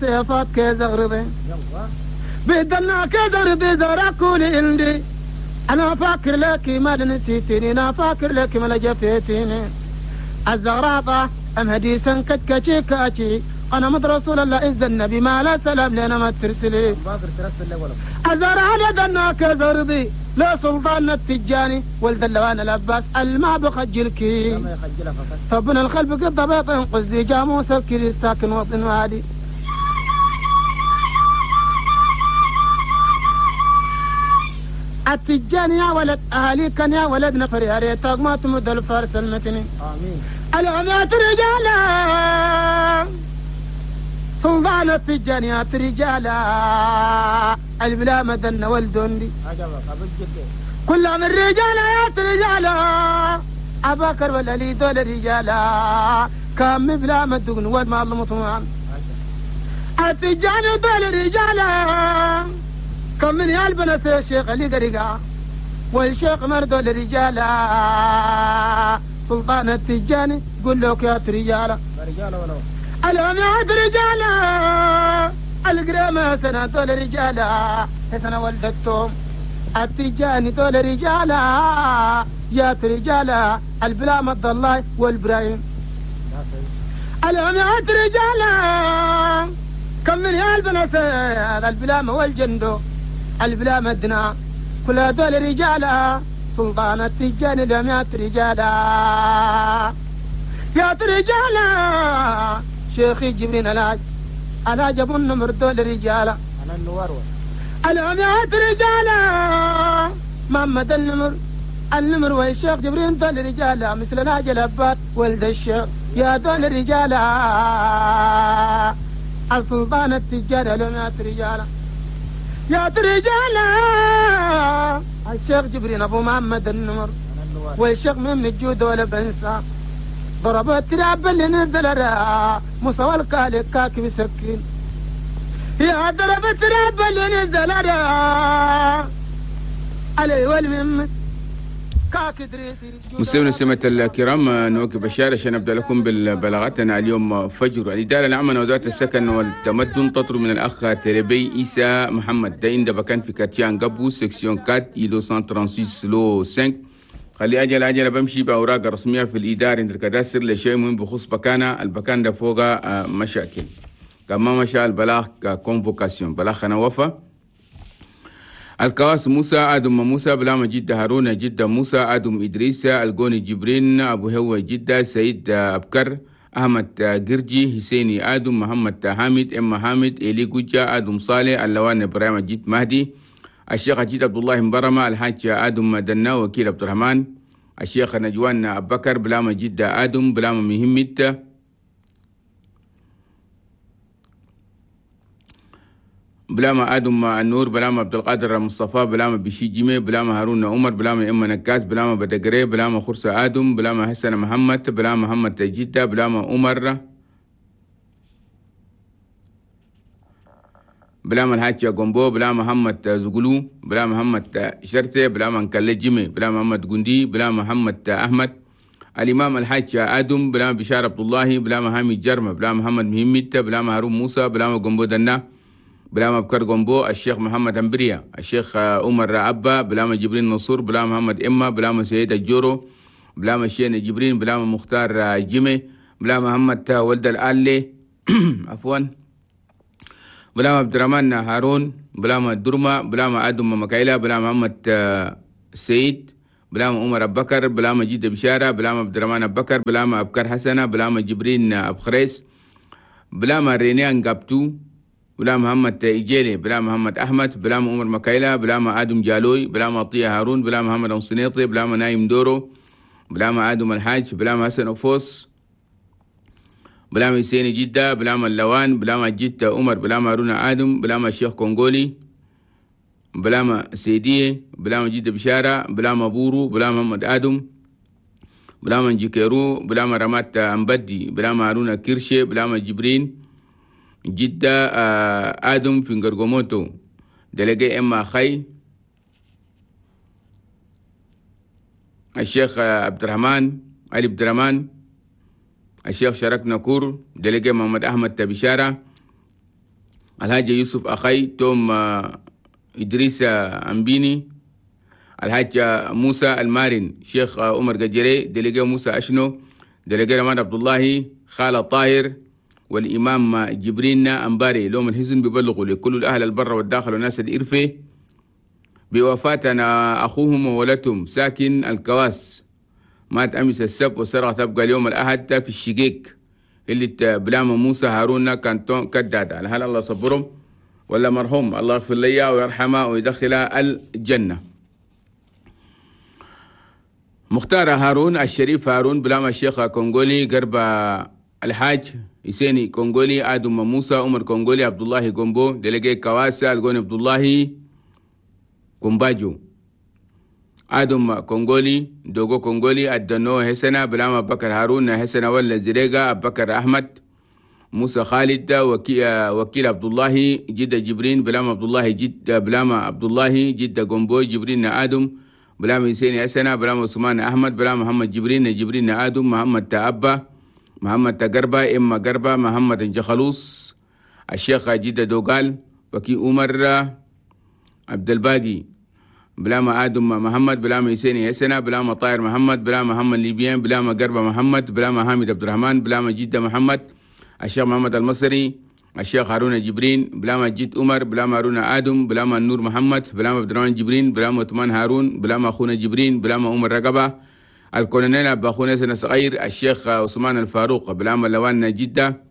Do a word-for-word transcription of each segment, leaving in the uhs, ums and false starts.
سيفات كيزغرضي بدنا كيزغرضي زرع كل عندي أنا فاكر لك ما نسيتني أنا فاكر لك ما جفيتني الزغراطة أم هديسا كتكتشي كاتشي أنا مد رسول الله إذ النبي ما لا سلام لنا ما ترسلي الزرع لدنا كيزغرضي لا سلطان التجاني ولد اللوان العباس الما بخجلكي فبن الخلف قد بيط قزي جاموس الكري ساكن وطن وادي التجاني يا ولد أهلي كان يا ولد نفر يا ريتك ما تمد الفارس المتني آمين العمات رجالا سلطان التجاني يا رجالا البلا مدن والدندي كل من رجالا يا رجالا أباكر ولا لي دول رجالا كم بلا مدن والما المطمعن التجاني دول رجالا كم من يالبنة الشيخ اللي قرقا والشيخ مردو للرجالة سلطان التجاني قل لك يا رجالة الهم يا رجالة القرامة سنة دول رجالة سنة ولدتهم التجاني دول رجالة يا رجالة البلا مد الله والبرايم الهم يا رجالة كم من يالبنة البلامة والجندو البلا مدنا كل هذول رجالا سلطان التجاني لم رجالا يا رجالا شيخي جبرين الهاج انا جاب النمر دول رجالا انا النوار الهم يا رجالا محمد النمر النمر والشيخ جبرين دول رجالا مثل ناجي الأبات ولد الشيخ يا دول رجالا السلطان التجاني لم رجالا يا رجالا الشيخ جبرين ابو محمد النمر والشيخ من الجود ولا بنسى ضرب التراب اللي نزل موسى والكالك كاكب سكين يا ضرب التراب اللي نزل علي والمم مستمعينا سمة الكرام، نواكب الشارع عشان نبدا لكم بالبلاغاتنا اليوم فجر. الادارة العامة لوزارة السكن والتمدن تطلب من الاخ تربي عيسى محمد ده عند بكان في quartier انقبو section أربعة îlot مية ستة وثلاثين lot خمسة. خلي اجل اجل بمشي باوراق رسمية في الادارة عند ال cadastre لشيء مهم بخص بكانه البكان ده فوق مشاكل كما مشى البلاغ convocation بلاغ انا وفا الكواس موسى آدم موسى بلاما جدة هارون جدة موسى آدم إدريس الجوني جبرين أبو هو جدة سيد أبكر أحمد قرجي حسيني آدم محمد حامد إم حامد إلي جوجا آدم صالح اللوان إبراهيم جيت مهدي الشيخ جيت عبد الله مبرمة الحاج آدم دنا وكيل عبد الرحمن الشيخ نجوان أبكر بلاما جدة آدم بلاما مهمت بلاما آدم النور بلاما عبد القادر مصطفى بلاما بشي جيمي بلاما هارون عمر بلاما إما نكاس بلاما بدقري بلاما خرسة آدم بلاما حسن محمد بلاما محمد جدة بلاما عمر بلاما الحاج جومبو بلاما محمد زغلو بلاما محمد شرطي بلاما نكلي جيمي بلاما محمد جندي بلاما محمد أحمد الإمام الحاج آدم بلاما بشار عبد الله بلاما حامد جرمة بلاما محمد مهمت بلاما هارون موسى بلاما جومبو دنا بلاما بكر جومبو الشيخ محمد أمبريا الشيخ عمر أبا بلاما جبرين منصور بلاما محمد إما بلاما سيد الجورو بلاما الشين جبرين بلاما مختار جيمي بلاما محمد ولد الآلي عفوا بلاما عبد الرحمن هارون بلاما درما بلاما آدم مكايلا بلاما محمد سيد بلاما عمر أبو بكر بلاما جيد بشارة بلاما عبد الرحمن أبو بكر بلاما أبكر حسنة بلاما جبرين أبو خريس بلاما رينيان قابتو بلا محمد إيجيلي بلا محمد أحمد بلا عمر مكايلا بلا ما آدم جالوي بلا ما عطية هارون بلا محمد أنصنيطي بلا ما نايم دورو بلا ما آدم الحاج بلا ما حسن أفوس بلا ما حسين جدة بلا ما اللوان بلا ما جدة عمر بلا ما هارون آدم بلا ما الشيخ كونغولي بلا ما سيدية بلا ما جدة بشارة بلا ما بورو بلا محمد آدم بلا ما جيكيرو بلا ما رمات أمبدي بلا ما هارون كيرشي بلا ما جبرين جدة آدم في غرغوموتو دلقي إما خي الشيخ عبد الرحمن علي عبد الرحمن الشيخ شرك نكور دلقي محمد أحمد تبشارة الحاج يوسف أخي توم إدريس أمبيني، الحاج موسى المارن، شيخ عمر قجري، délégué موسى أشنو، délégué رمان عبد الله، خالة طاهر، والإمام جبرين أمباري. لهم الحزن ببلغوا لكل الأهل البر والداخل والناس الإرفة بوفاتنا أخوهم وولدهم ساكن الكواس، مات أمس السبت وسرقة تبقى اليوم الأحد في الشقيق اللي بلام موسى هارون كانتون كدادة. هل الله صبرهم ولا مرحوم، الله يغفر لي ويرحمه ويدخله الجنة. مختار هارون الشريف هارون بلام الشيخ كونغولي، قرب الحاج يسيني كونغولي، آدم موسى عمر كونغولي، عبد الله جومبو، délégué كواسا الجون عبد الله كومباجو، آدم كونغولي، دوغو كونغولي، الدنو حسنة بلام بكر هارون حسنة ولا زريقة، بكر أحمد، موسى خالد، وكيل عبد الله، جدة جبرين بلام عبد الله جد بلام عبد الله جدة جومبو، جبرين آدم بلام يسيني حسنة بلام عثمان أحمد بلام محمد جبرين جبرين آدم، محمد تأبا، محمد تقربة، إما قربة، محمد جخلوص، الشيخ جدة دوغال، وكي عمر عبد الباقي بلام آدم محمد بلام يسيني حسنة بلام طاهر محمد بلام محمد ليبيان بلام قربة محمد بلام حامد عبد الرحمن بلام جدة محمد، الشيخ محمد المصري، الشيخ هارون جبرين بلام جد عمر بلام هارون آدم بلام النور محمد بلام عبد الرحمن جبرين بلام عثمان هارون بلام أخونا جبرين بلام عمر رقبة، الكولونيل أبا أخونا سنة صغير، الشيخ عثمان الفاروق بلام لوان جدة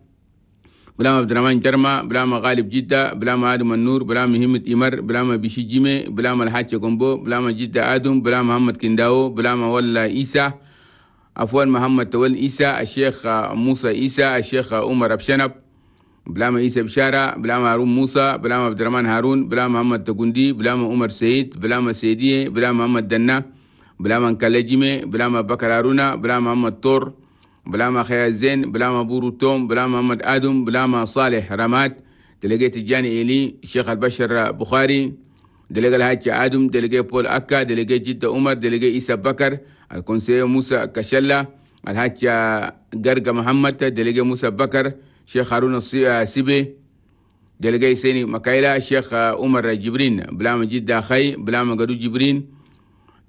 بلام عبد الرحمن جرمة بلام غالب جدة بلام آدم النور بلام همة إمر بلام بشي جيمي بلام الحاج كومبو بلام جدة آدم بلام محمد كنداو بلام ولا إيسا عفوا محمد تول إيسا، الشيخ موسى إيسا، الشيخ عمر أبشنب بلام إيسا بشارة بلام هارون موسى بلام عبد الرحمن هارون بلام محمد تقندي بلام عمر سيد بلام سيدية بلام محمد دنا بلام انكالجيمي بلام بكر هارونا بلام محمد طور بلام خيا الزين بلام بورو توم بلام محمد آدم بلام صالح رماد، délégué الجاني إيلي، الشيخ البشر بخاري، délégué الحاج آدم، délégué بول أكا، délégué جدة عمر، délégué إيسا بكر، ال conseiller موسى كشلة، الحاج قرقة محمد، délégué موسى بكر، شيخ هارون السيبي، délégué سيني مكايلة، الشيخ عمر جبرين بلام جدة خي بلام قدو جبرين،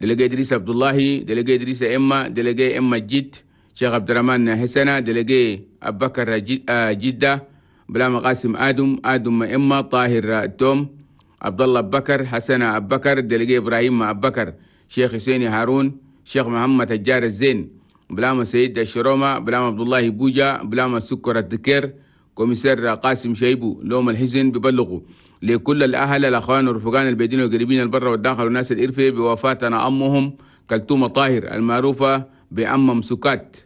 délégué إدريس عبد الله، délégué إدريس إما، délégué إما جد، شيخ عبد الرحمن حسنة، délégué أبو بكر جدة بلام قاسم آدم، آدم إما، طاهر توم، عبد الله بكر، حسن أبو بكر، délégué إبراهيم أبو بكر، شيخ حسين هارون، شيخ محمد الجار الزين بلام سيد الشرومة بلام عبد الله بوجا بلام السكر الذكر، commissaire قاسم شيبو. لوم الحزن ببلغوا لكل الأهل الأخوان والرفقان البيدين والقريبين البر والداخل والناس الإرفة بوفاتنا أمهم كلثوم طاهر المعروفة بأم سكات،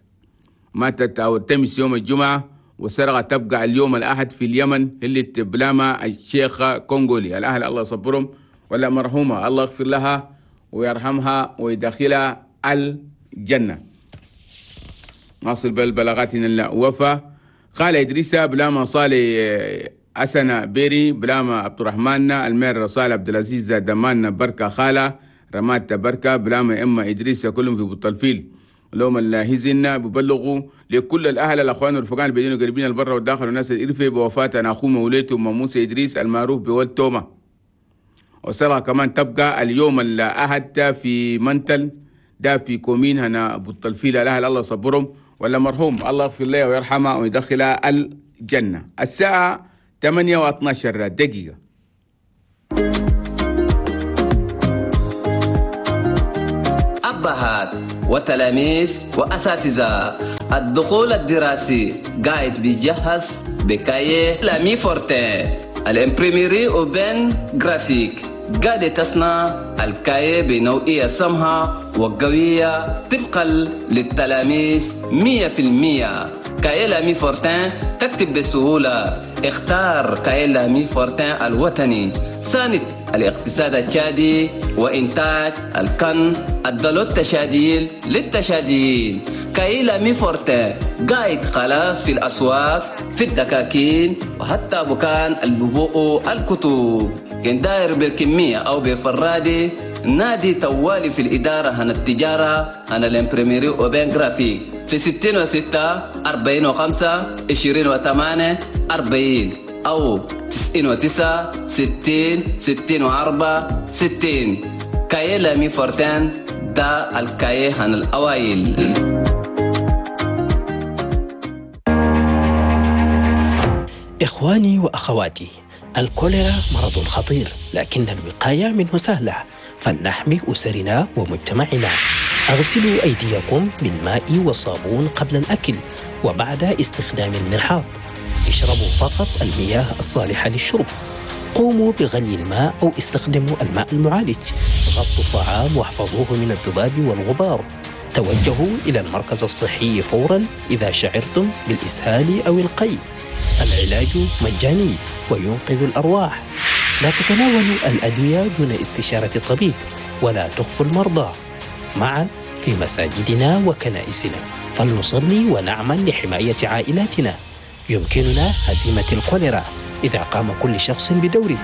ماتت أو تمس يوم الجمعة وسرقة تبقى اليوم الأحد في اليمن اللي بلاما الشيخ كونغولي. الأهل الله يصبرهم ولا مرحومة الله يغفر لها ويرحمها ويدخلها الجنة. نصل بالبلاغاتنا الوفا. قال إدريس بلاما صالح أسنة بيري بلاما عبد الرحمن المير صالح عبد العزيز دمان بركة خالة رمات بركة بلاما إما إدريس كلهم في بطلفيل. لهم الهزن ببلغوا لكل الأهل الأخوان والرفقان البيدين وقريبين البر والداخل والناس الإرفة بوفاة أخوه موليته موسى إدريس المعروف بولد توما. وصلها كمان تبقى اليوم الأحد في منتل ده في كومين هنا بطلفيل. الأهل الله صبرهم ولا مرحوم الله يغفر له ويرحمه ويدخله الجنة. الساعة ثمانية واثناشر دقيقة. أبهات وتلاميذ وأساتذة، الدخول الدراسي قاعد بيجهز ب cahier L'Ami Fortin ال imprimerie Open Graphique قاعدة تصنع ال cahier بنوعية سمحة وقوية طبقا للتلاميذ مية في المية. cahier L'Ami Fortin تكتب بسهولة. اختار cahier L'Ami Fortin الوطني، ساند الاقتصاد التشادي وإنتاج الكن الدلو التشاديل للتشاديين. cahier L'Ami Fortin قاعد خلاص في الأسواق، في الدكاكين، وحتى بكان الببوء الكتب. كان داير بالكمية أو بفرادي نادي توالي في الإدارة هنا التجارة هنا ال imprimerie Open Graphique في ستين وستة أربعين وخمسة عشرين وثمانية أربعين أو تسعين وتسعة ستين ستين وأربعة ستين. cahier L'Ami Fortin ده ال cahier هنا الأوائل. إخواني وأخواتي، الكوليرا مرض خطير، لكن الوقاية منه سهلة، فلنحمي أسرنا ومجتمعنا. اغسلوا أيديكم بالماء والصابون قبل الأكل وبعد استخدام المرحاض. اشربوا فقط المياه الصالحة للشرب. قوموا بغلي الماء أو استخدموا الماء المعالج. غطوا الطعام واحفظوه من الذباب والغبار. توجهوا إلى المركز الصحي فورا إذا شعرتم بالإسهال أو القيء. العلاج مجاني وينقذ الأرواح. لا تتناولوا الأدوية دون استشارة الطبيب، ولا تخفوا المرضى. معا في مساجدنا وكنائسنا فلنصلي ونعمل لحماية عائلاتنا. يمكننا هزيمة الكوليرا إذا قام كل شخص بدوره.